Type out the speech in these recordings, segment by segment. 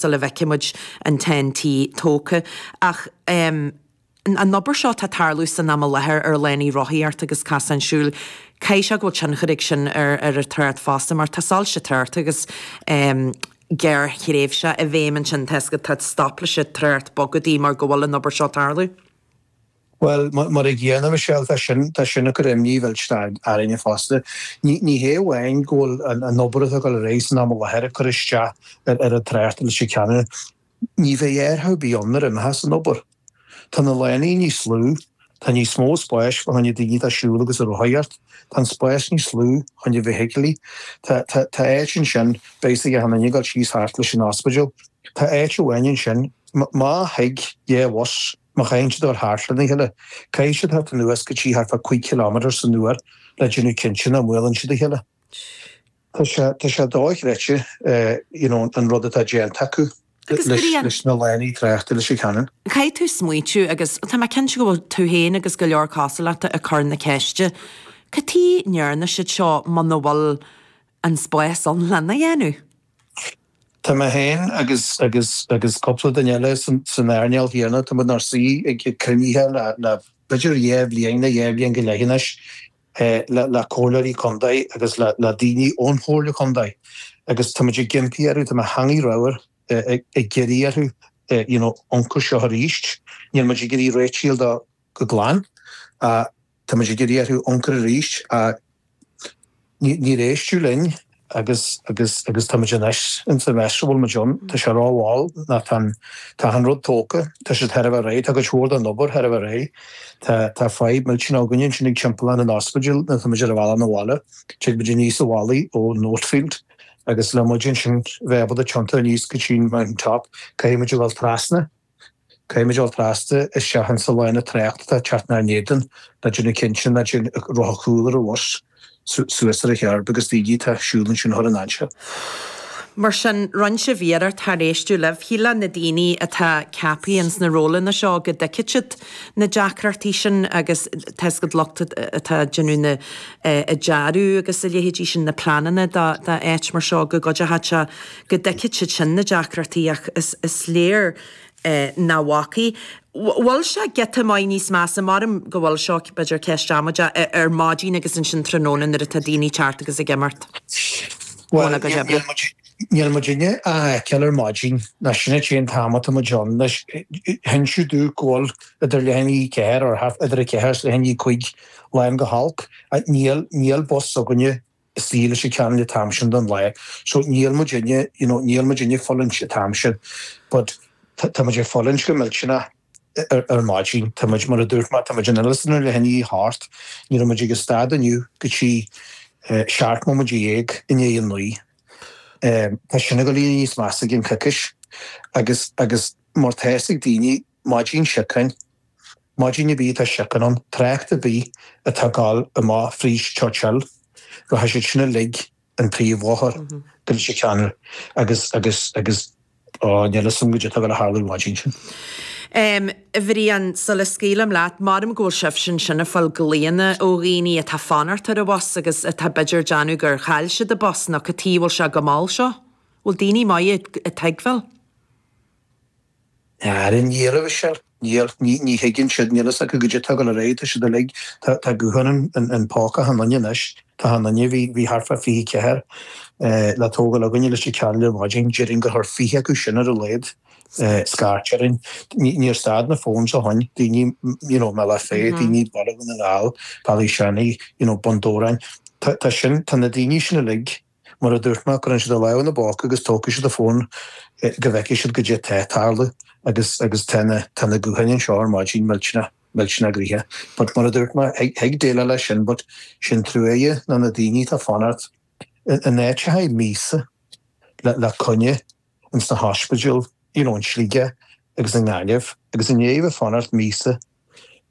Sula bhfeicfidh muid an Ten-T tógtha. Ach an obair seo atá ag tarlú san am i láthair ar lánaí rothaíochta agus casáin siúil, caithfidh sé go bhfuil tionchar ag sin ar an trácht fosta mar tá soilse tráchta agus gearrthréimhse i bhfeidhm ansin, tá tá stop leis an trácht bog go dtí mar go bhfuil an obair seo ag tarlú. Bhuel, mar a gcéanna, Michelle, tá sin, tá sin ag cur imní mhillteanach orainne fosta. Ní, ní hé amháin go bhfuil an, an obair atá ag dul ar aghaidh san am i láthair ag cur isteach ar, ar an trácht i Leitir Ceanainn. Ní bheidh árthach ar bith ann nuair a imeochas an obair. Tá na lánaí níos lú, tá níos mó spáis fá choinne daoine atá ag siúl agus ag rothaíocht, tá an spás níos lú choinne feithiclí. Tá, tá, tá áit ansin, beidh a fhios ag achan duine ag dul síos thart leis an ospidéal. Tá áit amháin ansin, má thig dhá bhus, Má chaitheann siad a dhul thart lena chéile, caithfidh siad theacht anuas go dtí thart fá 5 chileámeter san uair le déanamh cinnte nach mbuaileann siad a chéile. Tá sé, tá sé dochreidte, you know, an rud atá déanta acu leis na lánaí tráchta i Leitir Ceanainn. Caithfidh tú smaointiú, agus tá mé cinnte go bhfuil tú féin agus go leor cosúil leat ag cur na ceiste, cad chuige a ndearna siad seo muna bhfuil an spás ann lena dhéanamh? Tá mé féin agus agus agus cúpla duine eile san san earnáil chéanna, tá muid inár suí ag cruinnithe le le b'fhéidir dhá bhliain nó dhá bhliain go leith anois le le comhairleoirí contae agus le le daoine ón chomhairle contae agus tá muid ag impí orthu, tá mé theangaidh ramhar ag ag iarraidh orthu you know amharc air seo arís. Níl muid ag iarraidh réitigh dó go glan ach Tá muid ag iarraidh orthu amharc air arís ach níor éisteadh linn agus agus agus tá muid anois in sa mess a bhfuil muid ann. Tá sé rómhall ná tá an tá an rud tógtha, tá siad thar a bheith réidh, tá cuid mhór den obair thar a bheith réidh. Tá tá fadhb millteanach againne ansin ag timpeallán an ospidéil nuair atá muid ar an bhealach 'na bhaile. Tig muid aníos an mhullaigh ó Northfield agus le muid ansin bheith ábalta tiontú aníos go dtí an Mountain Top caithfidh muid a dhul trasna. Caithfidh muid dul trasna isteach insa lána tráchta atá ag teacht inár n-éadan le déanamh cinnte nach dtéann rothar cúl ar an bhus suas ar an cherb agus daoine atá ag siúl ansin a chur i ndainséar. Mar sin, rinne sibh iarracht char éisteadh libh. Shílfeá na daoine atá ceaptha ins na rólanna seo go dtuigfeadh siad na deacrachtaí sin agus tá 'fhios agat lucht atá ag déanamh na ag dearadh agus a leithéidí sin, na pleananna d'áit mar seo go gcuideochadh sé go dtuigfeadh siad sin na deacrachtaí ach is léir nach bhfacaidh. Bhfuil sé giota maith níos measa, maram go bhfuil seo b'fhéidir ceist amaideach, ar maidin agus ansin tráthnóna nuair atá daoine ag teacht agus ag imeacht óna gcuid oibre? Níl muidinne á fheiceáil ar maidin, ná sin an t-aon t-am atá muid ann. Anois, hinseadh domh go bhfuil idir leath i ndiaidh a ceathair, or idir a ceathair is leath i ndiaidh a cúig lán go holc. Níl, níl bus againne istigh i Leitir Ceanainn an t-am sin den lá. So níl muidinne, you know, níl muidinne ag fulaingt an t-am sin. But tá muid ag fulaingt go millteanach ar, ar maidin. Tá muid, mar a dúirt mé, tá muid in Oileán ar leath i ndiaidh a hocht. Ní raibh muid ag an stad inniu go dtí 17 móiméad i ndiaidh a naoi. Tá sin ag dul níos measa i gceann coicís. Agus, agus mar tá fhios ag daoine, maidin siocáin, Maidin ar bith atá síocán ann, trácht ar bith atá ag gabháil amach fríd Church Hill, rachaidh siad sin uilig an príomhbhóthar go Leitir Ceanainn agus, agus, agus, ó, níl fhios agam goidé atá ag gabháil a tharlú an mhaidin sin. A Bhriain, sula scaoilim leat, maram go bhfuil sibhse ansin ag fáil glaonna ó dhaoine atá ag fanacht ar an bhus agus atá b'fhéidir ag déanamh gur chaill siad an bus nó cad chuige a bhfuil sé chomh mall seo? Bhfuil daoine maith ag tuigbheáil? Ara níl, a Mhichelle. Níl. Ní thuigeann siad. Níl fhios acu goidé atá ag dul ar aghaidh. Tá siad uilig, tá, tá guthán in, in póca achan duine anois. Tá achan duine, bhí, bhí thart fá 24 le tógáil againne i Leitir Ceanainn ar maidin. Déarfainn gur chuir 20 acu sin ar a laghad scairt orainn. Ní, níor stad na phones ó shoin. Daoine, you know, i mBealach Féich, daoine i Baile Dhún na nGall, Bealach Seanaidh, you know, Bun Dobhráin. Tá, tá sin, tá na daoine sin uilig, Mar a dúirt mé, cuireann siad a lámh ina bpóca agus tógfaidh siad a bhfón go bhfeicfidh siad goidé atá ag tarlú agus agus tá na tá na gutháin anseo ar maidin millteanach millteanach gnoitheach. But mar a dúirt mé, thig thig déileáil leis sin but sin truaighe ná na daoine atá ag fanacht in áiteacha míosa le le coinne ins na hospidéil you know in Sligeach agus i nGaillimh agus i ndiaidh a bheith ag fanacht míosa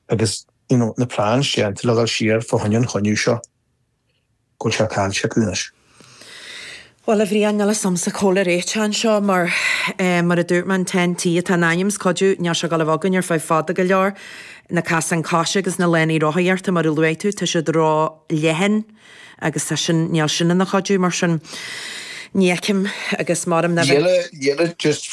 agus you know na plans déanta le dhul siar fá choinne an choinniú seo. go bhfuil sé caillte acu anois. Bhuel, a Bhriain, níl fhios a'msa cá bhfuil an réiteach anseo mar, mar a dúirt mé, an Ten-T atá in ainm is cuidiú, níl sé ag dul a bheith againn ar feadh fada go leor. Na casáin coise agus na lánaí rothaíochta, mar a luaigh tú, tá siad ró-leathan agus tá sin, níl sin ina chuidiú, mar sin. Ní fheicim agus maram nach. Níl just.